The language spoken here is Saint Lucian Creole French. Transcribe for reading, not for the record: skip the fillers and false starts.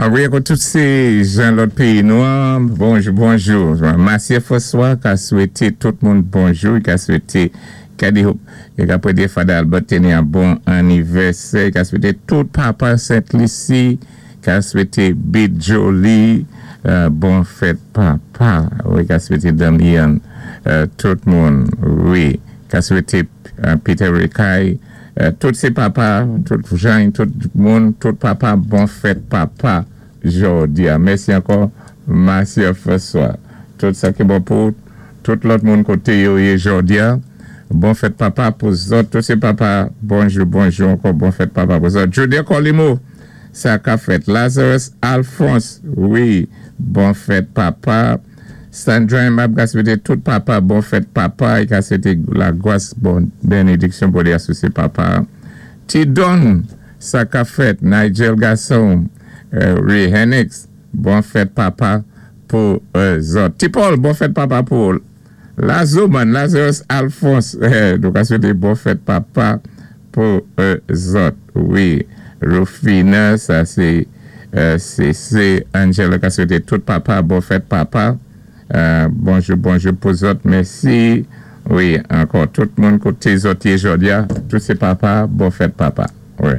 Wi, ankò tout sé jan lòt péyi nou an, bonjou, bonjou. Masye François ka swété tout moun bonjou, i ka swété Kadi Hope, i ka pwédé Fada Albert téni an bon annivèsè, i ka swété tout papa Sent Lisi, ka swété Bit Jolie, bon fèt papa. Wi, ka swété Damian, tout moun, wi, ka swété Peter Rekay, tout sé papa, tout jan, tout moun, tout papa, bon fèt papa jòdi a. Mèsi ankò, Masye François. Tout sa ki bon pou tout lòt moun koté yo yé jòdi a. Bon fèt papa pou zòt, tout sé papa, bonjou, bonjou ankò, bon fèt papa pou zòt. Jodi Colimo, sa ka fèt. Lazarus Alphonse, wi, bon fèt papa. Sandra Mab ka swété tout papa, bon fèt papa, i ka swété lagwas, bon bénédiksyon pou li asosye papa. Tidon, sa ka fèt. Nigel Gasson, wi, Henix, bon fèt papa pou zòt. Ti Paul, bon fèt papa pou Lazoman, Lazarus Alphonse, nou ka swété bon fèt papa pou zòt. Wi, Rufina, sa sé se Angela ka swété tout papa, bon fèt papa. Bonjou, bonjou pou zòt, mèsi. Wi, ankò tout moun koté zòt yé jòdi a, tout sé papa, bon fèt papa. Wi.